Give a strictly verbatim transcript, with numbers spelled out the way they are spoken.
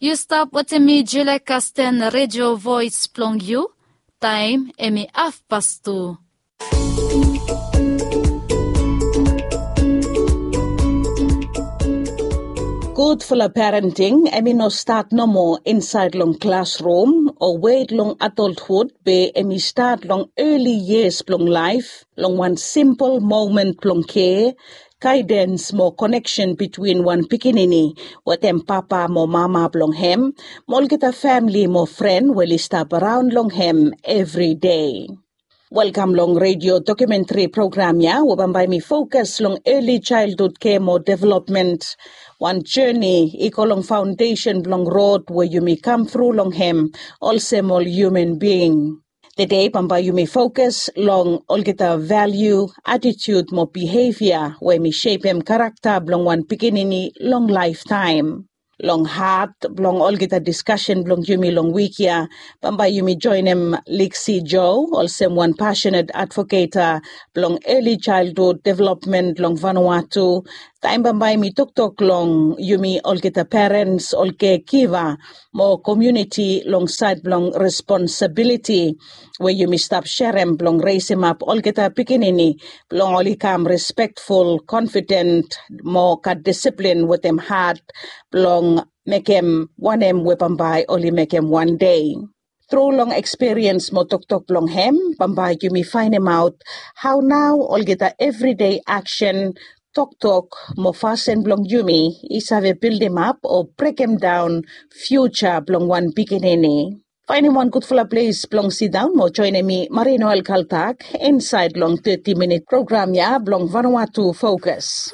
Yu stap wetem mi Julia Kasten, redio voes blong yu. Taem em i hafpas tu. Gudfala parenting em i no stat nomo insaed long klasrum o wet long adolthud, be em i stat long eli yias blong laef, long wan simpol momen blong kea, gaedens mo koneksen bitwin wan pikinini wetem papa mo mama blong hem, mo olgeta famle mo fren we oli stap raon long hem evri dei. Welkam long redio dokumentri program ya we bambae mi fokas long eli jaelhud kea mo developmen, wan joni i go long faondesen blong rod we yumi kam tru long hem olsem ol hiuman bing. Tede bambae yumi fokas long olgeta valiu, atitiud mo bihevia we mi sepem karakta blong wan pikinini long laeftaem. Long hat blong olgeta diskasen blong yumi long wik ya, bambae yumi joenem Liksi Jo olsem wan pasenet advoketa blong eli jaelhud developmen long Vanuatu. Taem bambae mi toktok long yumi olgeta perens, ol kegiva mo komuniti long saed blong responsabiliti we yumi stap serem blong resemap olgeta pikinini blong oli kam respektful, konfiden mo gat disiplin wetem hat blong mekem wanem we bambae oli mekem wan dei. Tru long ekspiriens mo toktok blong hem, bambae yumi faenemaot hao nao olgeta evridei aksen, toktok mo fasin blong yumi i save bildimap o brekemdaon fiuja blong wan pikinini. Faenem wan gudfala ples blong sidaon mo joenem mi Marie Noel Kaltak insaed long teti minit program ya blong Vanuatu Fokas.